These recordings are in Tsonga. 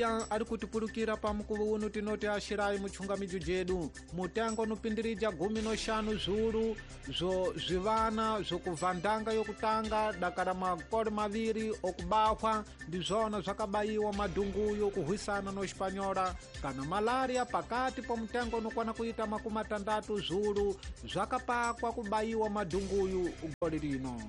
Awiya ari kutipulukira pa mukuvo uno tinoti axirai muchungamijo jedu mutengo nupindirija 15 zviuru zvo zvivana zvokuvhandanga yokutanga dakara makore 2 okubahwa ndizvona zvakabayiwa madhunguyo kuhwisana no Espanhola kana malaria pakati po mutengo unokwana kuita 60 zviuru zvakapakwa kubayiwa madhunguyu gole lino.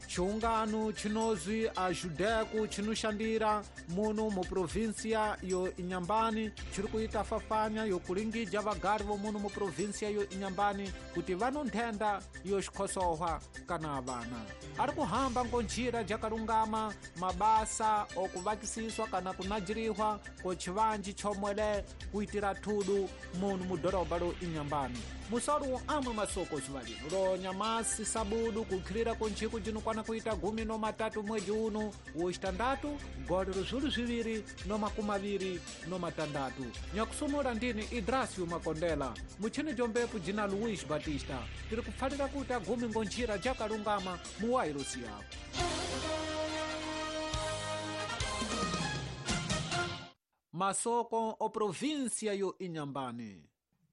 Chiungano chinozwi ajudeku chinoshandira muno mu província yo Inhambane chiri kuita fafanya yokulingija vagari vomuno mu província yo Inhambane kuti vano nthenda yo xikhosohwa kana vana ari kuhamba ngo njira jakalungama mabasa okuvakisiswa kana kunajirihwa ko chivanji chomwele kuitira thudu muno mu dhorobha lo Inhambane. Musoro amwe masoko zuva lino ro nyamasi sabudu kukhirira ko njiku jinokwana kuita 13 mwedzi uno wo 6 gole ro 2026. Nyakusumula ndini Idrasio Makondela, muchini jombepu jina Luis Batista. Tiri kupfalira kuti agumi ngo njira jakalungama mu wairosi yako. Masoko o província yo Inhambane.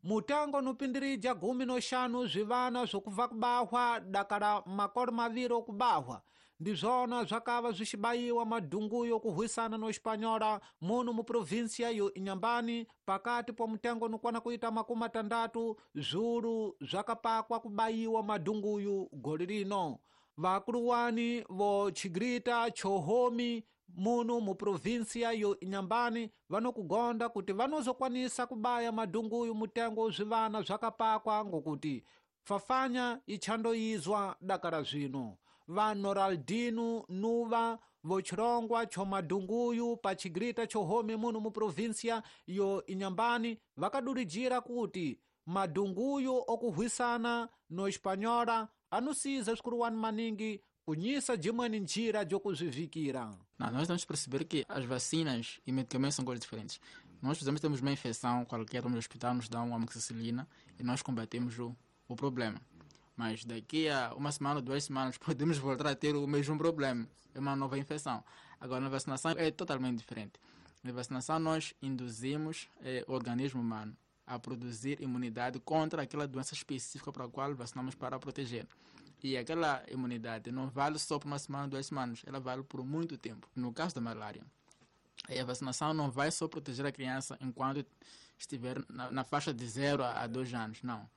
Mutango nupindirija 15 zvivana zvokubva kubahwa dakara makore 2 okubahwa ndizvona zvakava zvichibayiwa madhunguyo kuhwisana no Espanhola muno mu província yo Inhambane pakati po mutengo nokwana kuita 60 zviuru zvakapakwa kubayiwa madhunguyu gole lino. Vakuluwani vo chigrita chohomi muno mu província yo Inhambane vanokugonda kuti vanozokwanisa kubaya madhunguyu mutengo zvivana zvakapakwa ngokuti fafanya ichandoizwa dakara zvino. Va Noraldino Nuva vochirongwa cho madhunguyu pa chigrita chohomi muno mu província yo Inhambane vakadurijira kuti madhunguyu okuhwisana no Espanhola anusiza zvikuluwani maningi kunyisa jimweni njira jokuzvivikira. Não, nós temos que perceber que as vacinas e medicamentos são coisas diferentes. Nós, por exemplo, temos uma infecção qualquer, vamos ao hospital, nos dá uma amoxicilina e nós combatemos o problema. Mas daqui a uma semana ou 2 semanas podemos voltar a ter o mesmo problema, é uma nova infecção. Agora, na vacinação é totalmente diferente. Na vacinação nós induzimos o organismo humano a produzir imunidade contra aquela doença específica para a qual vacinamos para proteger. E aquela imunidade não vale só por uma semana, 2 semanas, ela vale por muito tempo. No caso da malária, a vacinação não vai só proteger a criança enquanto estiver na faixa de 0 a 2 anos, não.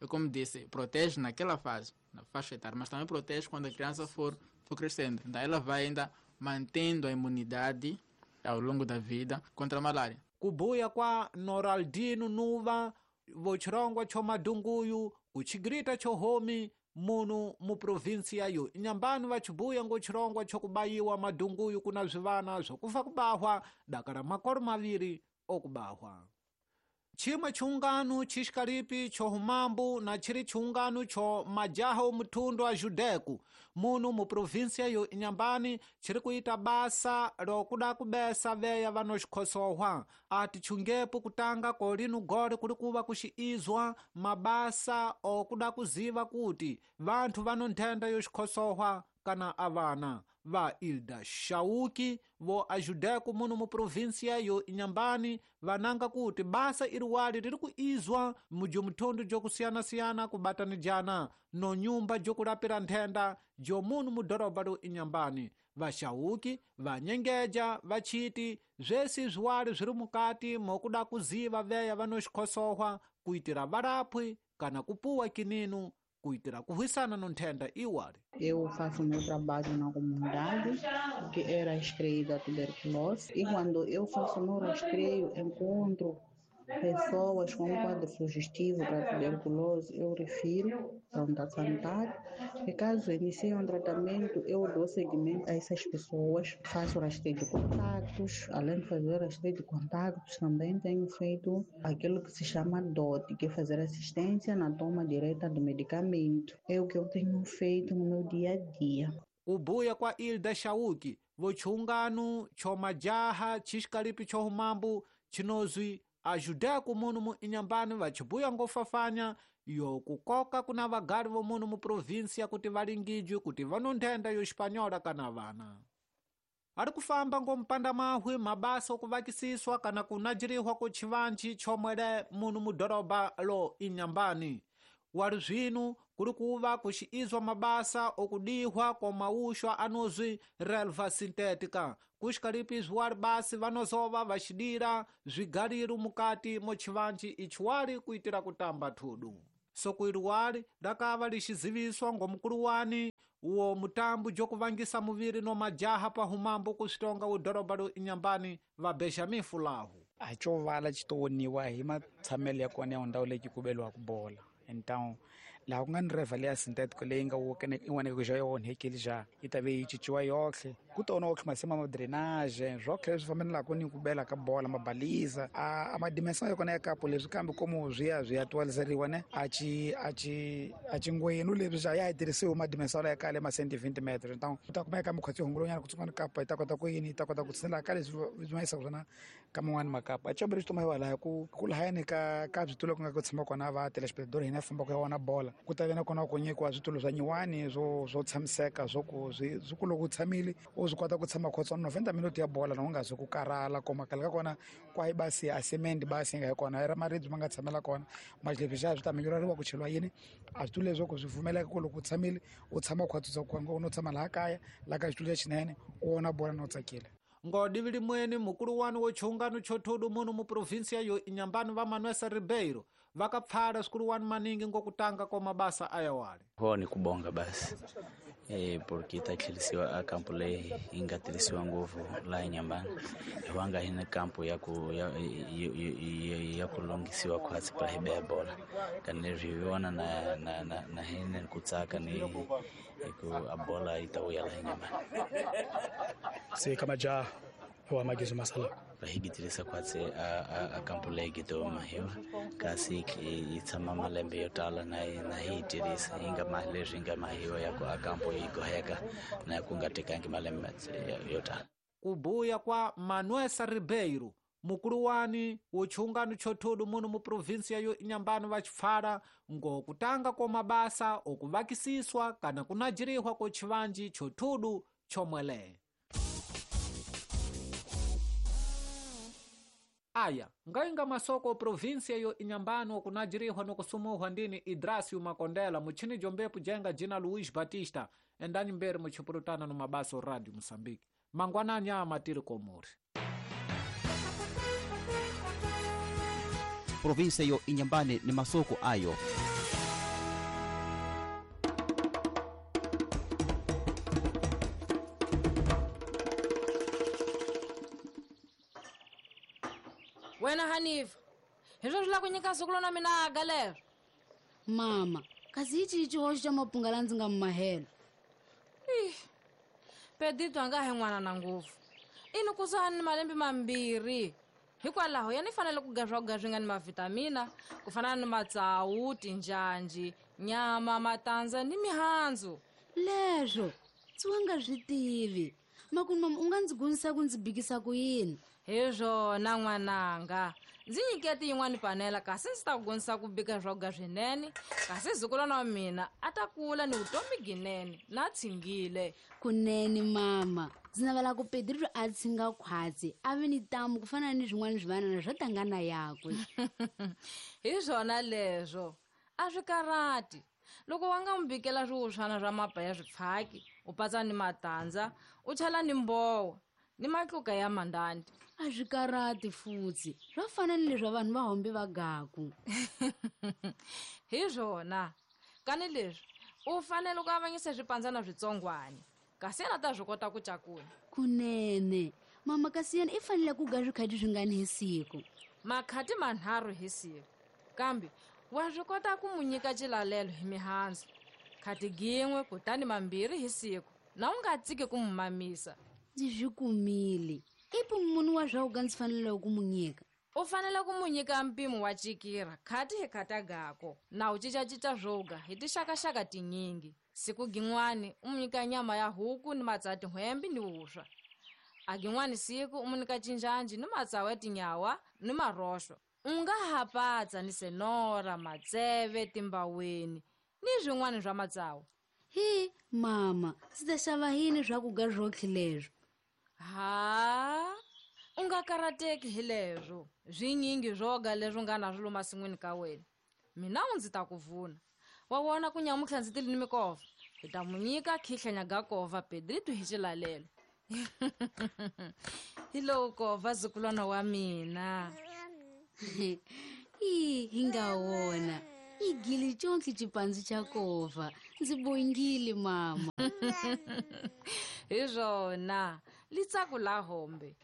Eu, como disse, protege naquela fase, na faixa etária, mas também protege quando a criança for crescendo. Então ela vai ainda mantendo a imunidade ao longo da vida contra a malária. Kubuya kwa Noraldino Nuva, vochirongwa cho madhunguyu, kuchigrita chohomi, muno mu província yo Inhambane vachibuya ngo chirongwa chokubayiwa madhunguyu kuna zvivana zvokufa kubahwa dakara makore 2 okubahwa. Chimwe chiungano chixikalipi chohumambu na chiri chiungano cho majaha omuthundu a Judeku muno mu província yo Inhambane chiri kuita basa lokuda kubesa veya vanoxikhosohwa. Ati chungepo kutanga kolino gole kuli kuva kuxiizwa mabasa okuda kuziva kuti vanthu vano nthenda yoxikhosohwa kana avana. Va Ilda Shauki vo ajudeku muno mu província yo Inhambane vananga kuti basa iriwali riri kuizwa mujumuthundu jokusiyana-siyana kubatanijana no nyumba jokulapira nthenda jo muno mu dhorobha lo Inhambane. Vashauki vanyengeja vachiti zvesi zviwali zviri mukati mokuda kuziva veya vanoxikhosohwa kuitira varapwi kana kupuwa kininu kuitira kuhwisana no nthenda iwali. Eu faço meu trabalho na comunidade, que é rastreio da tuberculose, e quando eu faço meu rastreio, encontro pessoas com um quadro sugestivo para tuberculose, eu refiro para a unidade sanitária, e caso inicie um tratamento, eu dou seguimento a essas pessoas, faço rastreio de contatos. Além de fazer rastreio de contatos, também tenho feito aquilo que se chama DOT, que é fazer assistência na toma direta do medicamento. É o que eu tenho feito no meu dia a dia. Kubuya kwa Ilda Shauki, vochungano chomajaha chixikalipi chohumambu chinozwi ajudeku muno mu Inhambane vachibuya ngofafanya yo kukoka kuna vagari vomuno mu província kuti valingijwe kuti vano nthenda yo Espanhola kana vana. Ari kufamba ngompanda mahwi mabasa okuvakisiswa kana kunajirihwa ku chivanji chomwele munu mudoroba lo Inhambane. Wari zwinu kuri kuva kuxiizwa mabasa okudihwa kwa mauxwa anozwi relva sintética. Kuxikalipizwa wari basi vanozova vaxidira zwigariru mukati mo chivanji ichiwari kuitira kutamba thudu. Sokuiri wari rakava lixiziviswa ngomukuluwani uwo mutambu jokuvangisa muviri no majaha pa humambo kuxitonga udoroba lo Inhambane va Benjamin Fulahu. Achovala xitowoniwa hi matshamelo ya kona ya ndhawu leyi ku beliwaka bola. Então laha ku nga ni reva leya synthetic leyi nga in'wana xa yo onhekile xa yi ta ve yi cinciwa yohle ku tona otlhe masimu ma drainage swotlhe leswi fambelaka ni ku bela ka bola mabaliza a madimension ya kona ya kapo leswi kambe komo swi ya swi ya twaliseriwa ne a ci a ci a cingwenu leswi xa ya tirhisiwe madimension ya kale ma 120 meters. Então u ta kumeka mukhatsi hungulonyana ku tsungana kapa yi ta kota ku yini yi ta kota ku tshinela ka leswi swi yisaka swona ka man'wani makapa a chamberi xi toma laha ku ku lahayani ka ka switulo ku nga ku tshama kona va telespectator hina famba ku ya vona bola ku ta ve na kona ku nyikiwa switulo swa nyiwani swo swo tshamiseka swo ku swi swi ku loko u tshamile u swi kota ku tshama khotswana 90 minutes ya bola na u nga zi ku karhala koma khale ka kona kwayi basi a cement basi nga hi kona i ra maribye ma nga tshamela kona maxilebyi xa swi ta minyureriwa ku cheliwa yini a switulo leswo ku swi pfumeleka ku loko u tshamile u tshama khwatsisa ku u no tshama laha kaya laha ka xitulo lexinene u vona bola na u tsakile. Ngodivi limweni mukuluwani wo chungano chothudu munu mu provinsia yo Inhambane va Manuel Ribeiro vakapfala swikuluwani maningi ngokutanga kwa mabasa ayawali. Ho ni kubonga basi porque ta tlhelisiwa a kampo leyi yi nga tirhisiwa ngopfu laha Inhambane hiwanga hi na kampo ya ku ya ya ku longisiwa khwatsi para hi beya bola kani leswi hi vona na na na na hina ku tsaka ni ku a bola yi ta vuya laha Inhambane. Se kama ja wa magizo masala hi tirhisa khwatsi a kampo leyi gidoma hiwa kasi yi tshama malembe yo tala na na hi tirhisa yi nga ma leswi nga mahiwa ya ku a kampo yi goheka na ku nga tekangi malembe yo tala. Kubuya kwa Manuel Ribeiro mukuluwani wochungano chothudu munu mu provinsia yo Inhambane vachipfala ngokutanga kwa mabasa okuvakisiswa kana kunajirihwa kwa chivanji chothudu chomwele. Aya, ngainga masoko provinsia yo Inhambane okunajirihwa nokusumuhwa ndini Idrasio Makondela muchini jombepu jenga jina Luiz Batista endani mbere muchipurutana no mabaso Radio Moçambique. Mangwanani ya matiri komori. Provinsia yo Inhambane ni masoko ayo. Wena Hanifa, hi swo swi lava ku nyika siku lona mina aga lero. Mama, kasi hi cihi xihoxo xa mapunga la ndzi nga mi mahelo? Pedito a nga he n'wana na ngopfu. I ni kusuhani ni malembe mambirhi. Hikwalaho ya ni fanele ku ga swakudya swi nga ni mavhitamina ku fana ni matsawu, tinjhanji, nyama, matandza ni mihandzu. Leswo ndzi wa nga swi tivi. Makunu mama u nga ndzi gonisa ku ndzi bikisa ku yini? Hi swona n'wananga, ndzi nyiketi yin'wani panela kasi ndzi ta ku gonisa ku bika swakudya swinene kasi zukulwana wa mina a ta kula ni vutomi ginene na tshingile. Kunene mama, ndzi navela ku Pedrito a tshinga khwatsi a ve ni tamu ku fana ni swin'wana swivanana swo tangana yakwe. Hi swona leswo, a swi karhati. Loko wa nga n'wi bikela swiwuswana swa mapa ya swipfhaki, u patsa ni matandza, u chela ni mbowa ni matluka ya mandandi. A swi karhati futsi, swa fana ni leswi vanhu va hombe va gaku. Hi swona, kani leswi u fanele ku avanyisa swipandzana switsongwani kasi yena ta swi kota ku cakula. Kunene mama, kasi yena i fanele ku ga swikhati swingani hi siku? Makhati manharhu hi siku, kambe wa swi kota ku mu nyika xilalelo hi mihandzu khati gin'we kutani mambirhi hi siku na u nga tsiki ku mu mamisa. Ndzi swi kumile. I munhu wa swa ku ka ndzi fanele ku mu nyika? U fanele ku mu nyika mpimo wa cikira khati hi khata gako na u cincacinca swoga hi tixakaxaka tinyingi. Siku gin'wani u mu nyika nyama ya huku ni matsawu tin'hwembi ni vuswa. A gin'wani siku u mu nyika cinjanji ni matsawu ya tinyawa ni maroxo. U nga ha patsa ni senora, matseve, timbaweni ni swin'wana swa matsawu. Hi mama, ndzi ta xava yini swa ku ga swotlhe leswo? Ha, u nga karateki hi leswo. Swinyingi swoga leswi nga na swilo masin'wini ka wena. Mina u ndzi ta ku vuna. Wa vona ku nyamutlha ndzi tili ni mikova. Hi ta mu nyika khihlanya ga kova Pedrito hi xilalelo. Hi lowu kova zukulwana wa mina. I hi nga wona. I gili conke xipandzu xa kova. Ndzi bongile mama. Hi swona. Litsaku la hombe.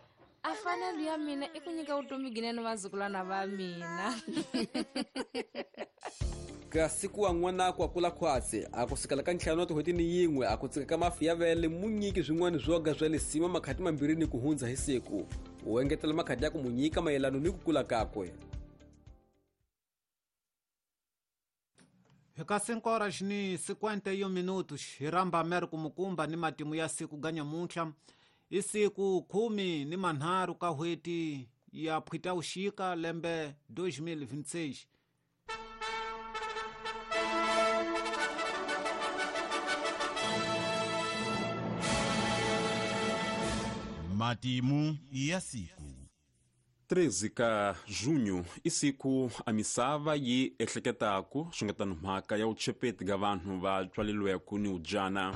A fanelo ya mina i ku nyika vutomi ginene vazukulwana va mina. Kasi ku wa n'wana ku akula khwatsi a ku sukela ka ntlhanu wa tin'hweti ni yin'we a ku tsika ka mafi ya vele mu nyiki swin'wana swoga swa lisima makhati mambirhi ni ku hundza hi siku. U engetela makhati ya ku mu nyika mayelano ni ku kula kakwe. Hi ka 5:51 minutos hi ramba Americo Mukumba ni matimu ya siku ga nyamuntlha. I siku 13 ka hweti ya Phitauxika lembe 2026. Matimu ya siku. 13 ka junho i siku a misava yi ehleketaku swi nga tano mhaka ya vuchepeti ga vanhu va tswaleriweke ni udyana.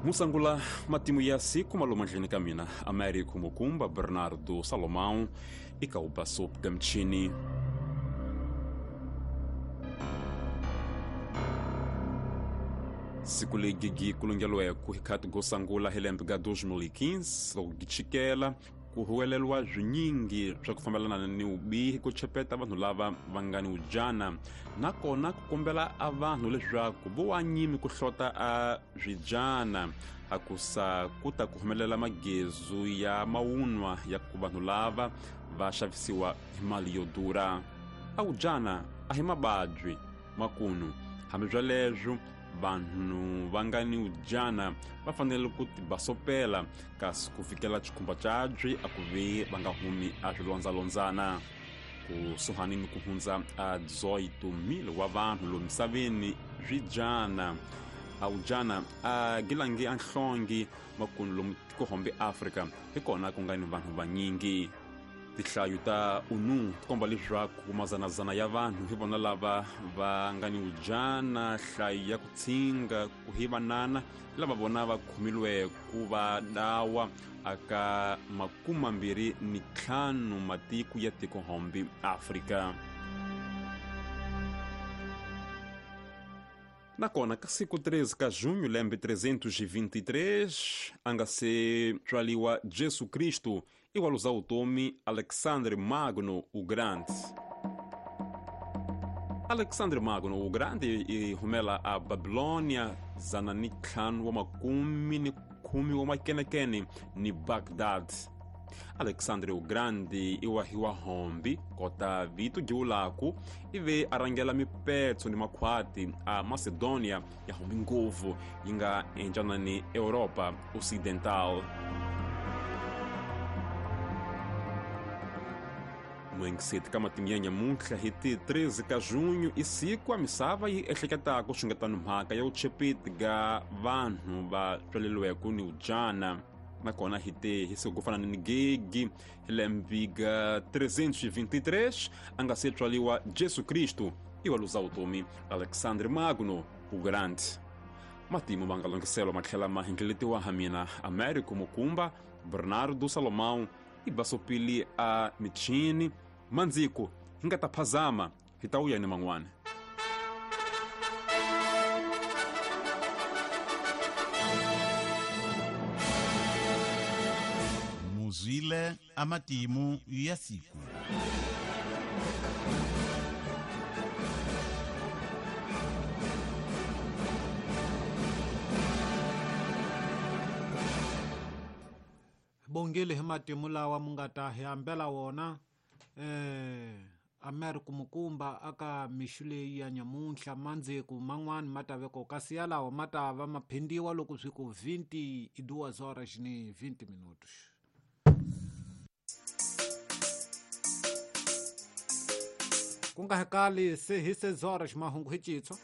Musangula matimu ya siku maloma ndleni ka mina Américo Mukumba Bernardo Salomão i ka ubasop ga mchini. Siku legi kulungelweke hi khati go sangula hi lembe ga 2015 loko gichikela ku huweleliwa swinyingi swa ku fambelana ni vubihi ku chepeta vanhu lava va nga ni udyana, nakona ku kombela a vanhu leswaku vo wa nyimi ku hlota a swidyana a ku sa ku ta ku humelela magezu ya mawunwa ya ku vanhu lava va xavisiwa hi mali yo durha. A udyana a hi mababyi makunu, hambi swoleswo vanhu va nga ni udyana va fanele ku tibasopela kasi ku fikela xikhumba cabyi a ku ve va nga humi a swilondzalondzana. Kusuhani ni ku hundza a 18,000 wa vanhu lomu misaveni swidyana a udyana a gilangi a nhlongi makunu lomu tikohombe Afrika hi kona ku nga ni vanhu vanyingi. Tinhlayo ta ONU ti komba leswaku mazanazana ya vanhu hi vona lava va nga ni udyana, nhlayo ya ku tshinga ku hi vanana lava vona va khomilwe ku va dawa aka 25 matiko ya tikohombe Afrika. Nakona ka siku 13 ka junho lembe 323 a nga se tswaliwa Jesu Kristu i wa luza vutomi Alexandre Magno o Grande. Alexandre Magno o Grande i humela a Babilônia 510 wa makenekene ni Baghdad. Alexandre o Grande i wahiwa hombi kota vito giulaku ive a rhangela mipetso ni makhwati a Macedonia ya hombi ngopfu yi nga encanani Europa Ocidental. Muengiseti ka matimu ya nyamuntlha hi ti 13 ka junho i siku a misava yi ehleketaka swi nga tano mhaka ya vuchepeti ga vanhu va tswaleriweke ni udyana. Nakona hi te hi siku ku fana ni gigi hi lembe ga 323 a nga se tswaliwa Jesu Kristu i wa luza vutomi Alexandre Magno o Grande. Matimu ma nga longhiselwa ma tlhela ma hindleletiwa ha mina Américo Mukumba Bernardo Salomão i basopili a michini mandziko hi nga ta phazama hi ta wuya ni man'wana. Muzwile amatimu ya siku. Bongile hi matimu lawa mu nga ta hi hambela wona Américo Mukumba aka mixu leyi ya nyamuntlha mandziko man'wani ma ta veko kasi yalawo ma ta va ma phindiwa loko swi ku 22 horas ni 20 minutos. Ku nga hekali se hi 6 horas mahungu hi citso.